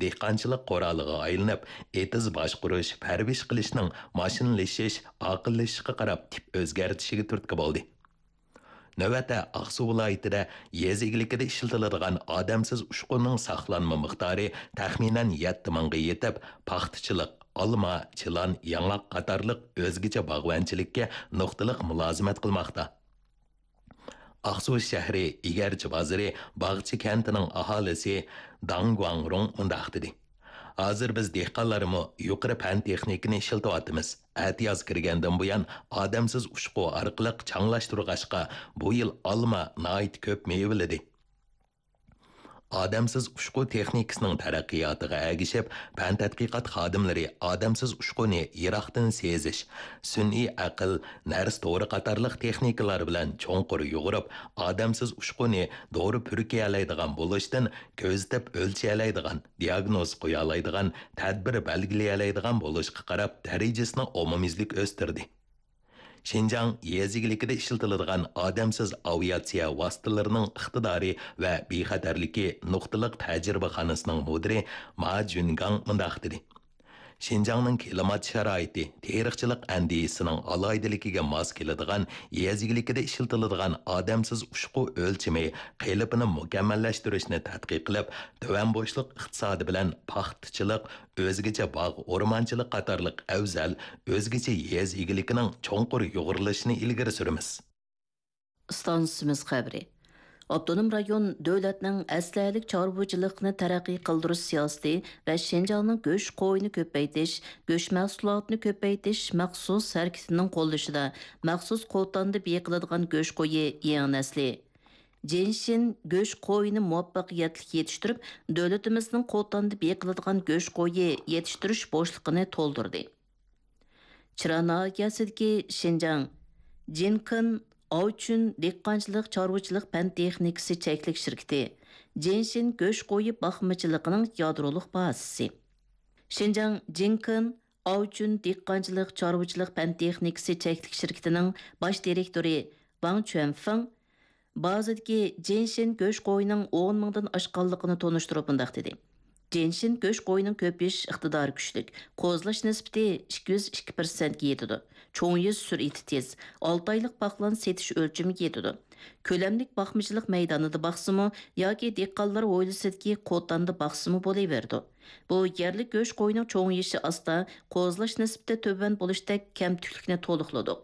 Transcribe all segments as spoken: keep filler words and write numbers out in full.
دېھقانچىلىق قورالىغا ئايلىنىپ، ئېتىز باشقۇرۇش، پەرۋىش قىلىشنىڭ ماشىنىلىشىش، ئاقىللىشىشقا قاراپ تىپ ئۆزگەرتىشىگە تۈرتكە بولدى. نۆۋەتتە ئاقسۇ ۋىلايىتىدە يېزا ئىگىلىكىدە ئىشلىتىلىدىغان ئادەمسىز ئۇچقۇننىڭ ساقلانما مىقدارى تەخمىنەن يەتتە مىڭغا يېتىپ، پاختىچىلىق، ئالما، چىلان، ياڭاق قاتارلىق ئۆزگىچە باغۋەنچىلىككە نۇقتىلىق مۇلازىمەت قىلماقتا. ئاقسۇ شەھىرى ئىگەرچى بازىرى باغچە كەنتىنىڭ ئاھالىسى داڭ گۇاڭرۇڭ مۇنداق دېدى: «ھازىر بىز دېھقانلارمۇ يۇقىرى پەن تېخنىكىنى ئىشلىتىۋاتىمىز. ئەتىياز كىرگەندىن بۇيان ئادەمسىز ئۇچقۇ ئارقىلىق چاڭلاشتۇرغاچقا، بۇ يىل ئالما ناھايىتى كۆپ مېۋىلىدى.» ئادەمسىز ئۇچقۇ تېخنىكىسىنىڭ تەرەققىياتىغا ئەگىشىپ، پەن تەتقىقات خادىملىرى ئادەمسىز ئۇچقۇنى يىراقتىن سېزىش، سۈنئىي ئەقىل، نەرسە تورى قاتارلىق تېخنىكىلار بىلەن چوڭقۇر يۇغۇرۇپ، ئادەمسىز ئۇچقۇنى دورا پۈركىيەلەيدىغان بولۇشتىن كۆزىتىپ ئۆلچىيەلەيدىغان، دىئاگنوز قويالايدىغان، تەدبىر بەلگىلىيەلەيدىغان بولۇشقا قاراپ دەرىجىسىنى ئومۇميۈزلۈك ئۆستۈردى. شىنجاڭ يېزا ئىگىلىكىدە ئىشلىتىلىدىغان ئادەمسىز ئاۋىئاتسىيە ۋاسىتىلىرىنىڭ ئىقتىدارى ۋە بىخەتەرلىكى نۇقتىلىق تەجرىبىخانىسىنىڭ مۇدىرى ما جۈنگاڭ مۇنداق دېدى: «شىنجاڭنىڭ كىلىمات شارائىتى، تېرىقچىلىق ئەندىزىسىنىڭ ئالاھىدىلىكىگە ماس كېلىدىغان يېزا ئىگىلىكىدە ئىشلىتىلىدىغان ئادەمسىز ئۇچقۇ ئۆلچىمى قېلىپىنى مۇكەممەللەشتۈرۈشنى تەتقىق قىلىپ، تۆۋەن بوشلۇق ئىقتىسادى بىلەن پاختىچىلىق، ئۆزگىچە باغ، ئورمانچىلىق قاتارلىق ئەۋزەل، ئۆزگىچە يېزا ئىگىلىكىنىڭ چوڭقۇر يۇغۇرۇلۇشىنى ئىلگىرى سۈرىمىز.» ئىستانسىمىز خەۋىرى. ئاپتونوم رايون دۆلەتنىڭ ئەسلىھەلىك چارۋىچىلىقنى تەرەققىي قىلدۇرۇش سىياسىتى ۋە شىنجاڭنىڭ گۆش قويىنى كۆپەيتىش، گۆش مەھسۇلاتىنى كۆپەيتىش مەخسۇس ھەرىكىتىنىڭ قوللىشىدا مەخسۇس قوتاندا بېقىلىدىغان گۆش قويى يېڭى نەسلى جىنشىن گۆش قويىنى مۇۋەپپەقىيەتلىك يېتىشتۈرۈپ، دۆلىتىمىزنىڭ قوتاندا بېقىلىدىغان گۆش قويى يېتىشتۈرۈش بوشلۇقىنى تولدۇردى. چىرا ناھىيەسىدىكى شىنجاڭ جىنكېن ئاۋچۈن دېھقانچىلىق چارۋىچىلىق پەن تېخنىكىسى چەكلىك شىركىتى جىنشىن گۆش قويى باقمىچىلىقىنىڭ يادرولۇق بازىسى. شىنجاڭ جىنكېن ئاۋچۈن دېھقانچىلىق چارۋىچىلىق پەن تېخنىكىسى چەكلىك شىركىتىنىڭ باش دىرېكتورى ۋاڭ چۈەنفېڭ بازىدىكى جىنشىن گۆش قويىنىڭ ئون مىڭدىن ئاشقانلىقىنى تونۇشتۇرۇپ مۇنداق دېدى: «جىنشىن گۆش قويىنىڭ كۆپىيىش ئىقتىدارى كۈچلۈك، قوزىلاش نىسبىتى ئىككى يۈز ئىككى پىرسەنتكە يېتىدۇ، چوڭىيىش سۈرئىتى تېز، ئالتە ئايلىق باقلان سېتىش ئۆلچىمىگە يېتىدۇ، كۆلەملىك باقمىچىلىق مەيدانىدا باقسىمۇ ياكى دېھقانلار ھويلىسىدىكى قوتاندا باقسىمۇ بولۇۋېرىدۇ. بۇ يەرلىك گۆش قويىنىڭ چوڭىيىشى ئاستا، قوزىلاش نىسبىتى تۆۋەن بولۇشتەك كەمتۈكلۈكنى تولۇقلىدۇق.»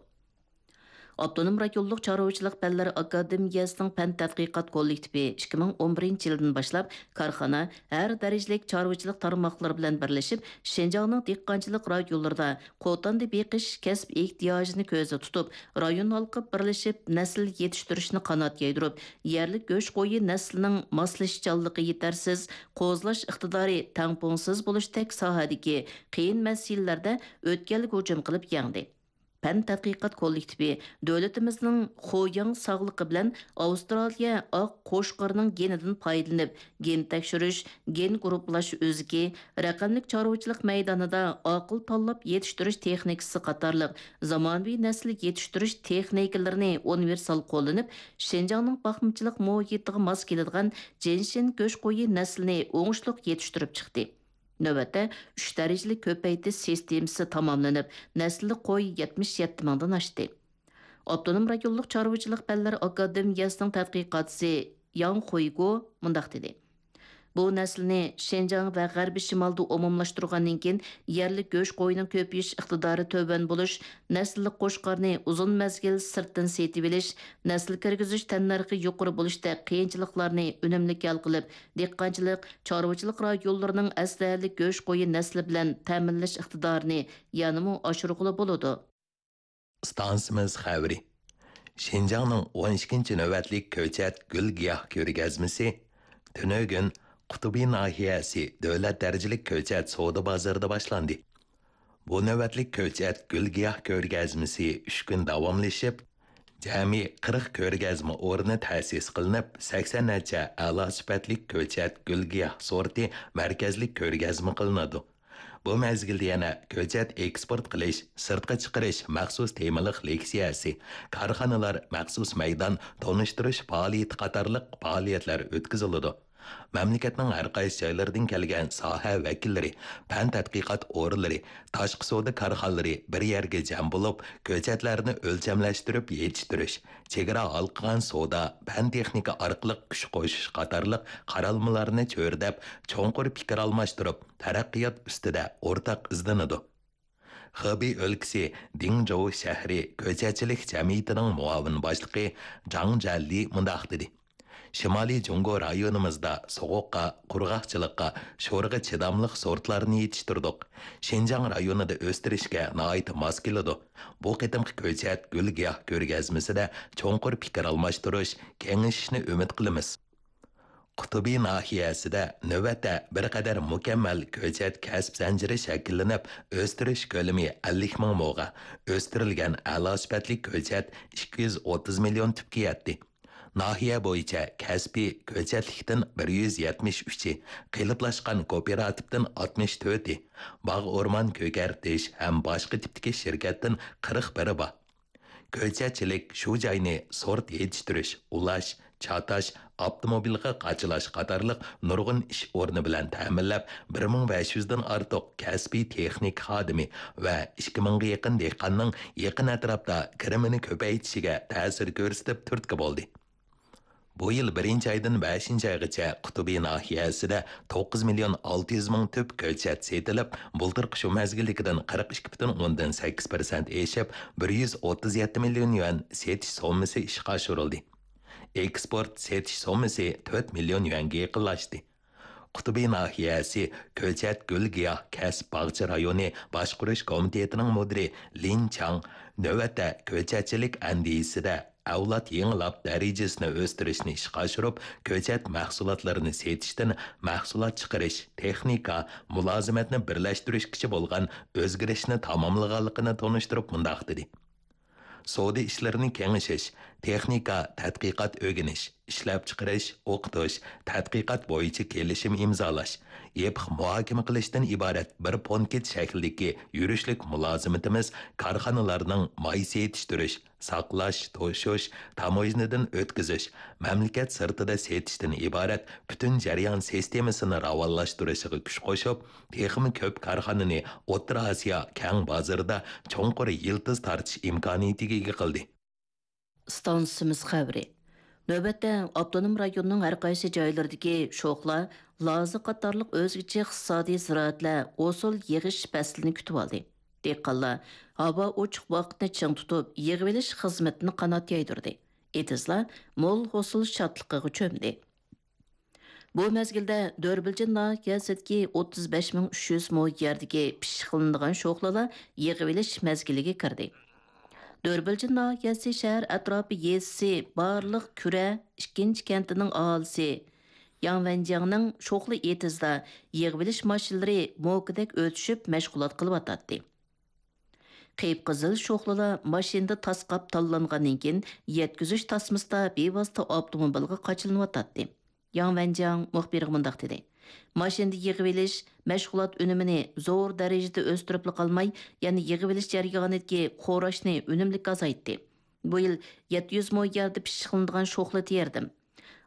ئاپتونوم رايونلۇق چارۋىچىلىق پەنلىرى ئاكادېمىيەسىنىڭ پەن تەتقىقات كوللېكتىپى ئىككى مىڭ ئون بىرىنچى يىلدىن باشلاپ كارخانا، ھەر دەرىجىلىك چارۋىچىلىق تارماقلىرى بىلەن بىرلىشىپ، شىنجاڭنىڭ دېھقانچىلىق رايونلىرىدا قوتاندا بېقىش كەسىپ ئېھتىياجىنى كۆزدە تۇتۇپ، رايون ھالقىپ بىرلىشىپ نەسىل يېتىشتۈرۈشنى قانات يايدۇرۇپ، يەرلىك گۆش قويى نەسلىنىڭ ماسلىشىشچانلىقى يېتەرسىز، قوزىلاش ئىقتىدارى تەڭپۇڭسىز بولۇشتەك ساھەدىكى قىيىن مەسىلىلەردە ئۆتكەلگە ھۇجۇم قىلىپ يەڭدى. پەن تەتقىقات كوللېكتىپى دۆلىتىمىزنىڭ خۇياڭ ساغلىقى بىلەن ئاۋسترالىيە ئاق قوچقىرىنىڭ گېنىدىن پايدىلىنىپ، گېن تەكشۈرۈش، گېن گۇرۇپپىلاش ئۆزىكى، رەقەملىك چارۋىچىلىق مەيدانىدا ئاقىل تاللاپ يېتىشتۈرۈش تېخنىكىسى قاتارلىق زامانىۋى نەسىل يېتىشتۈرۈش تېخنىكىلىرىنى ئۇنىۋېرسال قوللىنىپ، شىنجاڭنىڭ باقمىچىلىق مۇھىتىغا ماس كېلىدىغان جىنشىن گۆش قويى نەسلىنى ئوڭۇشلۇق يېتىشتۈرۈپ چىقتى. نۆۋەتتە، ئۈچ دەرىجىلىك كۆپەيتىش سىستېمىسى تاماملىنىپ، نەسىللىك قوي يەتمىش يەتتە مىڭدىن ئاشتى. ئاپتونوم رايونلۇق چارۋىچىلىق پەنلىرى ئاكادېمىيەسىنىڭ تەتقىقاتچىسى ياڭ خۇيگو مۇنداق دېدى: «بۇ نەسىلنى شىنجاڭ ۋە غەربىي شىمالدا ئومۇملاشتۇرغاندىن كېيىن، يەرلىك گۆش قويىنىڭ كۆپىيىش ئىقتىدارى تۆۋەن بولۇش، نەسىللىك قوچقارنى ئۇزۇن مەزگىل سىرتتىن سېتىۋېلىش، نەسىل كىرگۈزۈش تەننەرخى يۇقىرى بولۇشتەك قىيىنچىلىقلارنى ئۈنۈملۈك ھەل قىلىپ، دېھقانچىلىق، چارۋىچىلىق رايونلىرىنىڭ ئەسلىھەلىك گۆش قويى نەسلى بىلەن تەمىنلەش ئىقتىدارىنى يەنىمۇ ئاشۇرغىلى بولىدۇ.» ئىستانسىمىز خەۋىرى. شىنجاڭنىڭ ئون ئىككىنچى نۆۋەتلىك كۆچەت گۈل گىياھ كۆرگەزمىسى تۈنۈگۈن قۇتۇبى ناھىيەسى دۆلەت دەرىجىلىك كۆچەت سودا بازىرىدا باشلاندى. بۇ نۆۋەتلىك كۆچەت گۈل گىياھ كۆرگەزمىسى ئۈچ كۈن داۋاملىشىپ، جەمئىي قىرىق كۆرگەزمە ئورنى تەسىس قىلىنىپ، سەكسەن نەچچە ئەلا سۈپەتلىك كۆچەت گۈل گىياھ سورتى مەركەزلىك كۆرگەزمە قىلىنىدۇ. بۇ مەزگىلدە يەنە كۆچەت ئېكسپورت قىلىش، سىرتقا چىقىرىش مەخسۇس تېمىلىق لېكسىيەسى، كارخانىلار مەخسۇس مەيدان تونۇشتۇرۇش پائالىيىتى قاتارلىق پائالىيەتلەر ئۆتكۈزۈلىدۇ. مەملىكەتنىڭ ھەر قايسى جايلىرىدىن كەلگەن ساھە ۋەكىللىرى، پەن تەتقىقات ئورۇنلىرى، تاشقى سودا كارخانىلىرى بىر يەرگە جەم بولۇپ، كۆچەتلەرنى ئۆلچەملەشتۈرۈپ يېتىشتۈرۈش، چېگرا ھالقىغان سودا، پەن تېخنىكا ئارقىلىق كۈچ قوشۇش قاتارلىق قارالمىلارنى چۆرىدەپ، چوڭقۇر پىكىر ئالماشتۇرۇپ، تەرەققىيات ئۈستىدە ئورتاق ئىزدىنىدۇ. خېبېي ئۆلكىسى دىڭجوۋ شەھىرى كۆچەتچىلىك جەمئىيىتىنىڭ مۇئاۋىن باشلىقى جاڭ جيەنلى مۇنداق دېدى: شىمالىي جۇڭگو رايونىمىزدا سوغۇققا، قۇرغاقچىلىققا، شورىغا چىداملىق سورتلارنى يېتىشتۈردۇق. شىنجاڭ رايونىدا ئۆستۈرۈشكە ناھايىتى ماس كېلىدۇ. بۇ قېتىمقى كۆچەت گۈل-گىياھ كۆرگەزمىسىدە چوڭقۇر پىكىر ئالماشتۇرۇش، كېڭىشىشنى ئۈمىد قىلىمىز. قۇتۇبى ناھىيەسىدە نۆۋەتتە بىر قەدەر مۇكەممەل كۆچەت كەسىپ زەنجىرى شەكىللىنىپ، ئۆستۈرۈش كۆلىمى ئەللىك مىڭ موغا، ئۆستۈرۈلگەن ئەلا سۈپەتلىك كۆچەت ئىككى يۈز ئوتتۇز مىليون تۈپكە يەتتى. ناھىيە بويىچە كەسپىي كۆچەتلىكتىن بىر يۈز يەتمىش ئۈچى، قېلىپلاشقان كوپىراتىپتىن ئاتمىش تۆتى، باغ ئورمان كۆكەرتىش ھەم باشقا تىپتىكى شىركەتتىن قىرىق بىرى بار. كۆچەتچىلىك شۇ جاينى سورت يېتىشتۈرۈش، ئۇلاش، چاتاش، ئاپتوموبىلغا قاچىلاش قاتارلىق نۇرغۇن ئىش ئورنى بىلەن تەمىنلەپ، بىر مىڭ بەش يۈزدىن ئارتۇق كەسپىي تېخنىكا خادىمى ۋە ئىككى مىڭغا يېقىن دېھقاننىڭ يېقىن ئەتراپتا كىرىمىنى كۆپەيتىشىگە تەسىر كۆرسىتىپ تۈرتكە بولدى. بۇ يىل بىرىنچى ئايدىن بەشىنچى ئايغىچە قۇتۇبى ناھىيەسىدە توققۇز مىليون ئالتە يۈز مىڭ تۈپ كۆچەت سېتىلىپ، بۇلتۇرقى شۇ مەزگىلدىكىدىن قىرىق ئىككى پۈتۈن ئوندىن سەككىز پىرسەنت ئېشىپ، بىر يۈز ئوتتۇز يەتتە مىليون يۈەن سېتىش سوممىسى ئىشقا ئاشۇرۇلدى. ئېكسپورت سېتىش سوممىسى تۆت مىليون يۈەنگە يېقىنلاشتى. قۇتۇبى ناھىيەسى كۆچەت گۈل-گىياھ كەسىپ باغچە رايونى باشقۇرۇش كومىتېتىنىڭ مۇدىرى لىن چاڭ نۆۋەتتە كۆچەتچىلىك ئەندىزىسىدە ئەۋلاد يېڭىلاپ دەرىجىسىنى ئۆستۈرۈشنى ئىشقا ئاشۇرۇپ، كۆچەت مەھسۇلاتلىرىنى سېتىشتىن مەھسۇلات چىقىرىش، تېخنىكا، مۇلازىمەتنى بىرلەشتۈرۈشكىچە بولغان ئۆزگىرىشنى تاماملىغانلىقىنى تونۇشتۇرۇپ مۇنداق دېدى: سودا ئىشلىرىنى كېڭىشىش، تېخنىكا، تەتقىقات، ئۆگىنىش، ئىشلەپچىقىرىش، ئوقۇتۇش، تەتقىقات بويىچە كېلىشىم ئىمزالاش، يېپىق مۇھاكىمە قىلىشتىن ئىبارەت بىر پونكىت شەكلىدىكى يۈرۈشلۈك مۇلازىمىتىمىز كارخانىلارنىڭ ماي سېتىشتۈرۈش، ساقلاش، توشۇش، تاموژنىدىن ئۆتكۈزۈش، مەملىكەت سىرتىدا سېتىشتىن ئىبارەت پۈتۈن جەريان سىستېمىسىنى راۋانلاشتۇرۇشىغا كۈچ قوشۇپ، تېخىمۇ كۆپ كارخانىنى ئوتتۇرا ئاسىيا كەڭ بازىرىدا چوڭقۇر يىلتىز تارتىش ئىمكانىيىتىگە ئىگە قىلدى. ئىستانسىمىز خەۋىرى. نۆۋەتتە ئاپتونوم رايوننىڭ ھەر قايسى جايلىرىدىكى شوخلا، لازا قاتارلىق ئۆزگىچە ئىقتىسادىي زىرائەتلەر ھوسۇل يىغىش پەسلىنى كۈتۈۋالدى. دېھقانلار ھاۋا ئوچۇق ۋاقىتنى چىڭ تۇتۇپ، يىغىۋېلىش خىزمىتىنى قانات يايدۇردى. ئېتىزلار مول ھوسۇل شادلىقىغا چۆمدى. بۇ مەزگىلدە دۆربىلجىن ناھىيەسىدىكى ئوتتۇز بەش مىڭ ئۈچ يۈز مو يەردىكى پىششىقلىنىدىغان شوخلىلار يىغىۋېلىش مەزگىلىگە كىردى. دۆربىلجىن ناھىيەسى شەھەر ئەتراپى يېزىسى بارلىق كۈرە ئىككىنچى كەنتىنىڭ ئاھالىسى ياڭ ۋەنجياڭنىڭ شوخلا ئېتىزىدا يىغىۋېلىش ماشىنىلىرى موكىدەك ئۆتۈشۈپ مەشغۇلات قىلىۋاتاتتى. قىپقىزىل شوخلىلار ماشىنىدا تاسقاپ تاللانغاندىن كېيىن، يەتكۈزۈش تاسمىسىدا بىۋاسىتە ئاپتوموبىلغا قاچىلىنىۋاتاتتى. ياڭ ۋەنجياڭ مۇخبىرغا مۇنداق دېدى: ماشىنىدا يىغىۋېلىش مەشغۇلات ئۈنۈمىنى زور دەرىجىدە ئۆستۈرۈپلا قالماي، يەنە يىغىۋېلىش جەريانىدىكى خوراشنى ئۈنۈملۈك ئازايتتى. بۇ يىل يەتتە يۈز مو يەردە پىششىقلىنىدىغان شوخلا تېرىدىم.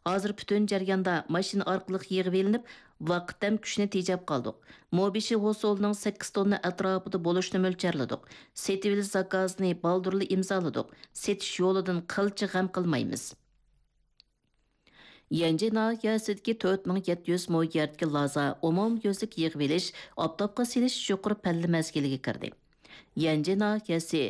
ھازىر پۈتۈن جەرياندا ماشىنا ئارقىلىق يىغىۋېلىنىپ، ۋاقىت ھەم كۈچنى تېجەپ قالدۇق. مو بېشى ھوسۇلىنىڭ سەككىز توننا ئەتراپىدا بولۇشىنى مۆلچەرلىدۇق. سېتىۋېلىش زاكازىنى بالدۇرلا ئىمزالىدۇق. سېتىش يولىدىن قىلچە غەم قىلمايمىز. يەنجى ناھىيەسىدىكى تۆت مىڭ يەتتە يۈز مو يەردىكى لازا ئومۇميۈزلۈك يىغىۋېلىش، ئاپتاپقا سېلىش يۇقىرى پەللە مەزگىلىگە كىردى. يەنجى ناھىيەسى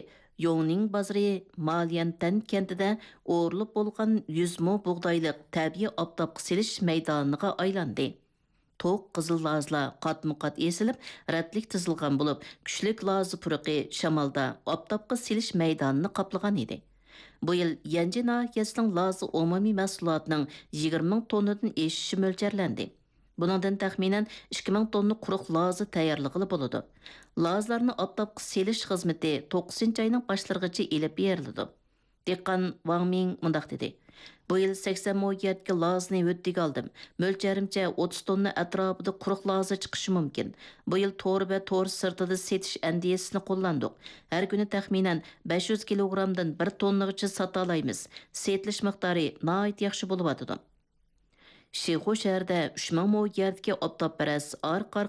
يوڭنىڭ بازىرى ماليەنتەن كەنتىدە ئورۇلۇپ بولغان يۈز مو بۇغدايلىق تەبىئىي ئاپتاپقا سېلىش مەيدانىغا ئايلاندى. توق قىزىل لازىلار قاتمۇ قات ئېسىلىپ، رەتلىك تىزىلغان بولۇپ، كۈچلۈك لازا پۇرىقى شامالدا ئاپتاپقا سېلىش مەيدانىنى قاپلىغان ئىدى. بۇ يىل يەنجى ناھىيەسىنىڭ لازا ئومۇمىي مەھسۇلاتىنىڭ يىگىرمە مىڭ توننىدىن ئېشىشى مۆلچەرلەندى. بۇنىڭدىن تەخمىنەن ئىككى مىڭ توننا قۇرۇق لازا تەييارلىغىلى بولىدۇ. لازىلارنى ئاپتاپقا سېلىش خىزمىتى توققۇزىنچى ئاينىڭ باشلىرىغىچە ئېلىپ بېرىلىدۇ. دېھقان ۋاڭ مىڭ مۇنداق دېدى: بۇ يىل سەكسەن مو يەردىكى لازىنى ھۆددىگە ئالدىم. مۆلچەرىمچە ئوتتۇز توننا ئەتراپىدا قۇرۇق لازا چىقىشى مۇمكىن. بۇ يىل تور ۋە تور سىرتىدا سېتىش ئەندىزىسىنى قوللاندۇق. ھەر كۈنى تەخمىنەن بەش يۈز كىلوگرامدىن بىر توننىغىچە ساتالايمىز. سېتىلىش مىقدارى ناھايىتى ياخشى بولۇۋاتىدۇ. شىخۇ شەھىرىدە ئۈچ مىڭ مو يەردىكى ئاپتاپپەرەس ئارقا-ئارقا